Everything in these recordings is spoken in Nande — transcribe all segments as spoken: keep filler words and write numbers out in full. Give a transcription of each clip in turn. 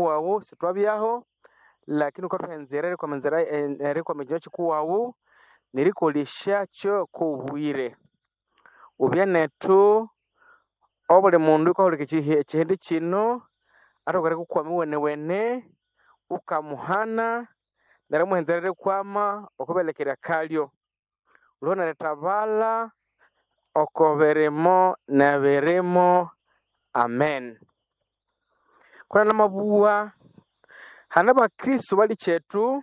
Wawu sithwabyaho lakini wukathuha enzira erikwama enzira erikwama ekinywa kikuwawu nerikolesyakyo kobwire. Wubye nethu obuli mundu oyukahulikirira ekihi ekihindi kino athoke erikukwama iwenewene wukamuhana nerimuha enzira eyerikwama okwiberekera akalyo. Wulwe nerithabalha oko birimo nebirimo, Amen. Kona namabugha, hane abakristo balikyethu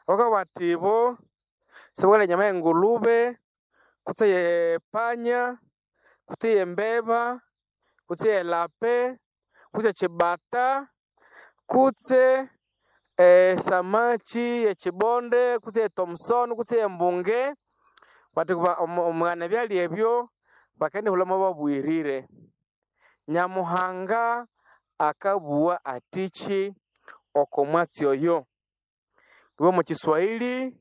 abakabugha bathi ibo sibakalya enyama yengulube kutse eyepanya kutse eyembeba kutse eyelape kutse ekyibata kutse esamaki yekyibonde kutse eye Thompson kutse eyembunge bathi omughana ebyalya ebyo bakendihulha babuyirire. Nyamuhanga akabugha athiki oko mwatsi oyo? Iwe omo kiswahili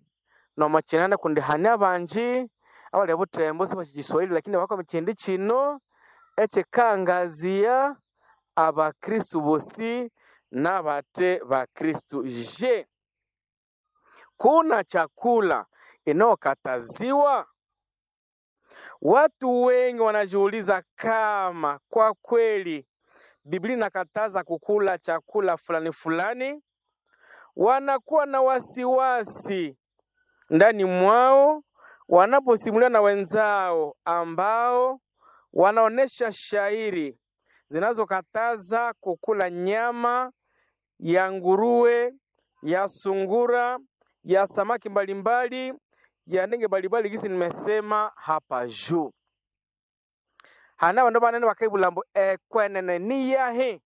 nomo kinande kundi hane abangi abali ebuthembo sibasi kiswahili lakini bakwama ekihindi kino ekyikangazia abakristo bosi nabathe bakristo. Je, kuna chakula inayokataziwa? Watu wengi wanajiuliza kama kwa kweli Biblia inakataza kukula chakula fulani fulani. Wanakuwa na wasiwasi ndani mwao wanaposimulia na wenzao ambao wanaonesha shairi zinazokataza kukula nyama ya nguruwe, ya sungura, ya samaki mbalimbali, ya ndege mbalimbali gisi nimesema hapa juu. Hane abandu banene bakayibulha ambu ekwenene niyahi?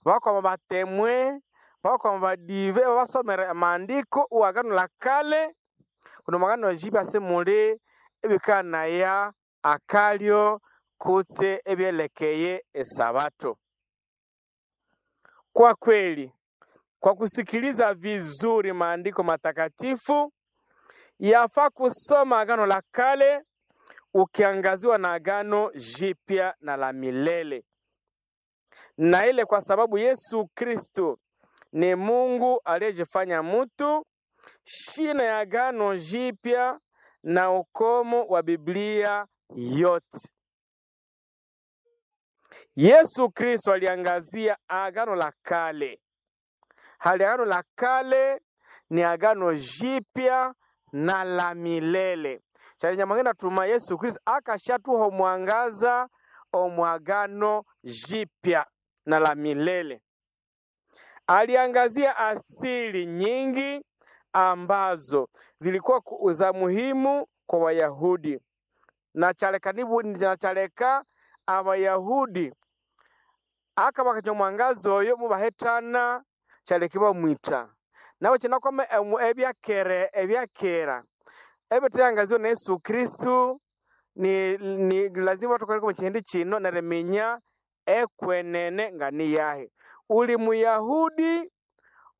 Bakwama batemwe, bakwama badive babasomera amaandiko owa Agano la Kale kundi omu Agano Jipya simuli ebikanaya akalyo kutse ebyelekeye esabato. Kwa kweli, kwa kusikiliza vizuri maandiko matakatifu, yafaa kusoma Agano la Kale ukiangaziwa na Agano Jipya na la milele, na ile kwa sababu Yesu Kristo ni Mungu aliyejifanya mtu, shina ya Agano Jipya na ukomo wa Biblia yote. Yesu Kristo aliangazia Agano la Kale. Hali Agano la Kale ni Agano Jipya na la milele. Kyali Nyamuhanga tuma Yesu Kristo akashatuha omwangaza omu Agano Jipya na la milele. Aliangazia asili nyingi ambazo zilikuwa ku- za muhimu kwa Wayahudi na kyaleka nibu na kyaleka Abayahudi akabakanya omwangaza oyo mubahethana kyaleka ibamwitha. Nabo kyinakwama emu- ebyakere ebyakera ebithayangaziwa na Yesu Kristo ni, ni lazima thukolere omu kihindi kino neriminya ekwenene nga niyahi. Uli Muyahudi,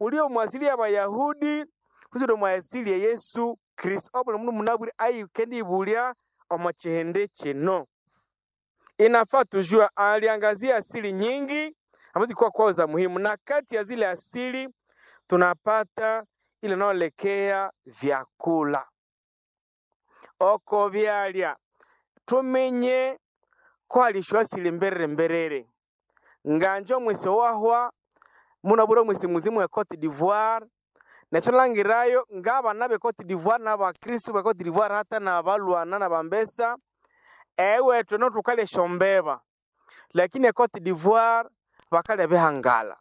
uli omu asili y'Abayahudi kutse uli omu asili ya Yesu Kristo. Obuli mundu munabwire ayikendibulya omu kihindi kino. Inafaa tujue aliangazia asili nyingi ambazo zilikuwa kwao za muhimu, na kati ya zile asili tunapata ile inayoelekea vyakula oko byalya tumenye ko halishwa asili mberere mberere nganje omwisi owahwa munabwire omwisi muzimu e Cote d'Ivoire nekyo langirayo ngabana be Cote d'Ivoire n'abakristo be Cote d'Ivoire hata nabalwana nabambesa ewethu eno thukalya esyombeba lakini e Cote d'Ivoire bakalya bihangala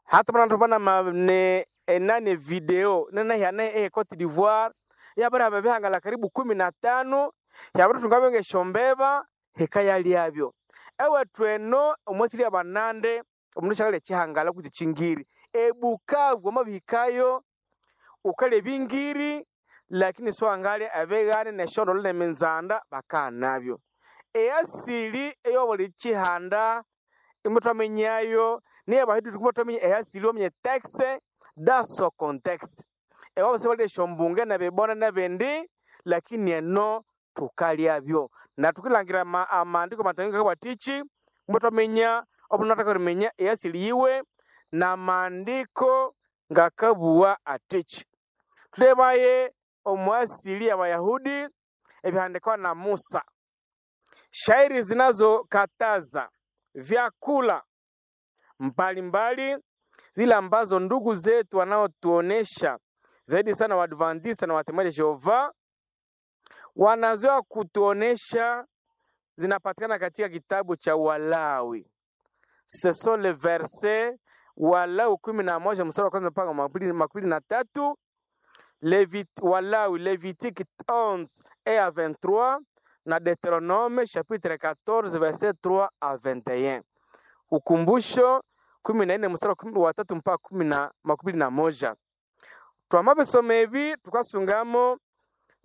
hata muna bana ma ne enani video nenahyana e Cote d'Ivoire yabirihamba ebihangala karibu kumi na tano yabirithunga ngesyombeba hikayalyabyo ewethu eno omwasili abanande omundu syakalya ekihangala kutse ekyingiri ebukavu wamabihikayo wukalya ebingiri lakini siwangalya ebighane nesyondolo neminzanda bakaghanabyo. Easili eyobuli kihanda imuthwaminya niyo abahindu thukathwaminya easili waminya texte dans son contexte. Ewabo sibalya esyombunge nebibonde nebindi lakini eno thukalyabyo. Na thukilangira ama amaandiko matakatifu ngakawathikyi muthwaminya omundu athoke eriminya easili yiwe na maandiko ngakabugha atichi. Tulebaye omuasili y'Abayahudi ebihandikwa na Musa, shairi zinazokataza vyakula mbalimbali zile ambazo ndugu zetu wanaotuonesha zaidi sana Waadventista na Watembezaji Jehova wanazoea kutuonesha, zinapatikana katika kitabu cha Walawi. Ce sont les versets Walawi kumi na moja mstari wa kwanza mpaka makumi makumi na tatu Levit, Walawi Lévitique onze et à vingt-trois na Deutéronome chapitre quatorze verset trois à vingt et un. Ukumbusho kumi na nne mstari wa kumi- wa tatu mpaka kumi na makumi na moja. Twamabisoma ebi tukasungamo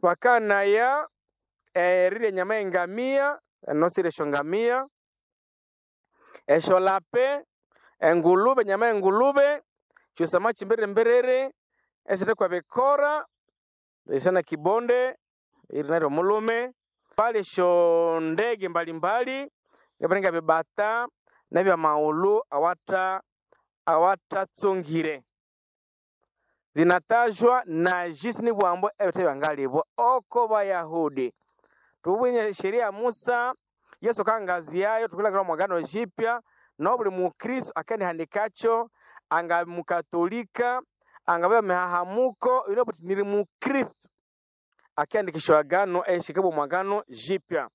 wakanaya erire enyama y'engamia enosire esyo ngamia, esyolape, engulube, enyama y'engulube, kyusama kimberere esithekwa bikora isana kibonde iri naryo mulume pali esyo ndege mbalimbali nga bibata nebyamaghulhu awata awatatsungire zinatajwa na jisi ni bwambo ebithe byangalibwa oko Bayahudi. Tubwine sheria ya Musa, Yesu kangaziyayo tukulangila mwagano jipya no buli mukristo akanihandikacho anga mukatolika angabya mihahamuko ino buti nili mukristo akiandikishwa agano eshikibwa mwagano jipya.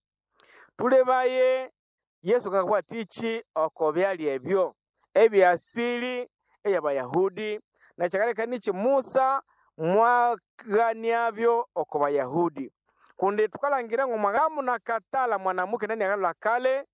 Tulebaye Yesu kakwa tichi oko byali ebyo ebyasili ey'Abayahudi na kyakaleka nichi Musa mwaganiabyo oko Bayahudi kundi tukalangira ngo mwagamu nakatala mwanamuke ndani ya agano la kale.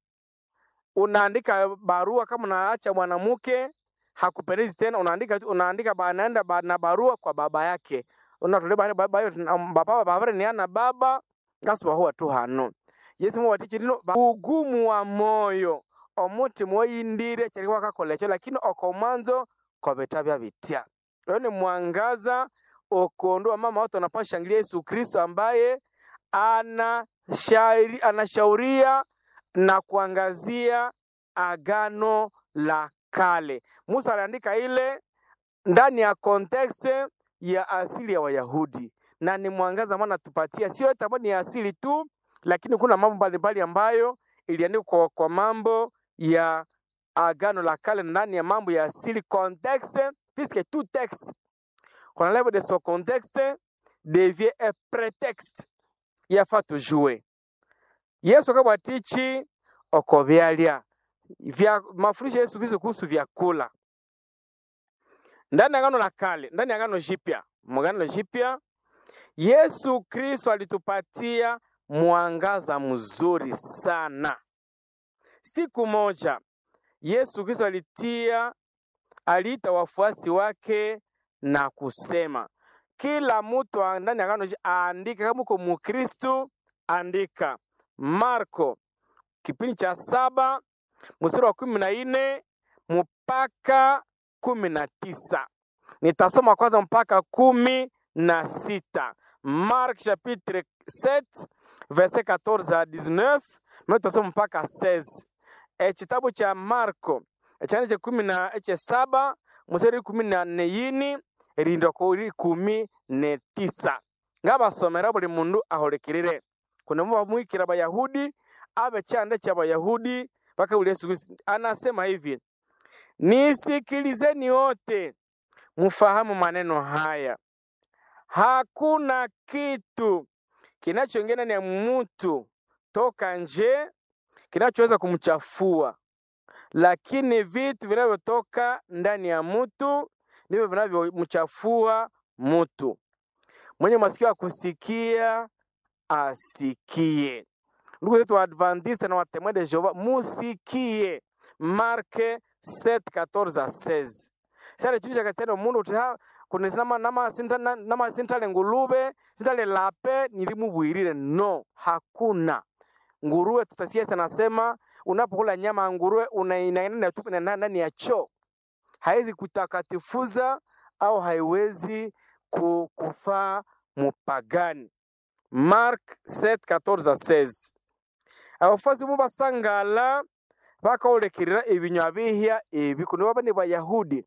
Unaandika barua kama unaacha mwanamke hakupendezi tena, unaandika unaandika ba- anaenda ba, na barua kwa baba yake unatuleba baba yo baba baba ni ana baba ngasuba huwa tu hano. Yesu muwatichi lino ba- ugumu wa moyo omuti mwoyindire kyalikuwa kakola ekyo, lakini oko mwanzo kobitabya bitya. Oyo ni mwangaza okuondoa mama watu wanapashangilia Yesu Kristo ambaye anashairi, anashauria na kuangazia agano la kale. Musa aliandika ile ndani ya context ya asili ya Wayahudi na ni mwangaza ambao anatupatia, sio yote ambayo ni asili tu, lakini kuna mambo mbalimbali ambayo iliandikwa kwa, kwa mambo ya agano la kale ndani ya mambo ya asili contexte, puisque tout texte qu'on enlève de son contexte devient un prétexte yafa tujue. Yesu akabwatichi oko byalya vya mafundisho ya Yesu Kristo kuhusu vyakula ndani ya agano la kale, ndani ya agano jipya. Mwagano jipya Yesu Kristo alitupatia mwangaza mzuri sana. Siku moja Yesu Kristo alitia aliita wafuasi wake na kusema, kila mtu ndani ya agano aandike, kama uko Mkristo andika. Marko kipindi cha saba mstari wa kumi na nne mpaka kumi na tisa. Nitasoma kwanza mpaka kumi na sita. Marc chapitre sept verset quatorze à dix-neuf, mais tutasoma mpaka seize. Ekitabu cha Marko ekyana kye kumi na ekyesaba mstari kumi na neyini erindwa kuri kumi netisa ngabasomera buli mundu aholekerere kuna bamwikira Bayahudi abe chanda cha Bayahudi mpaka ule Yesu Kristo anasema hivi: nisikilizeni wote mfahamu maneno haya, hakuna kitu kinachoingia ndani ya mtu toka nje kinachoweza kumchafua, lakini vitu vinavyotoka ndani ya mtu ndivyo vinavyomchafua mtu. Mwenye masikio ya kusikia asikie. Ndugu zetu wa Adventista na wa Témoins de Jehova, musikie Mark sept quatorze à seize. Sasa chini katendo mundu uti ha kuna nama nama sinta nama sintale ngulube sintale lape nilimubwirire no, hakuna nguruwe. Tutasikia nasema unapokula nyama ya nguruwe unainaenda tu ndani ya choo, haiwezi kutakatifuza au haiwezi kufaa mupagani. Mark sept quatorze à seize. Abafuasi bo basangala Bakahulekirira ebinywa bihya ebi kundi baba ni Bayahudi.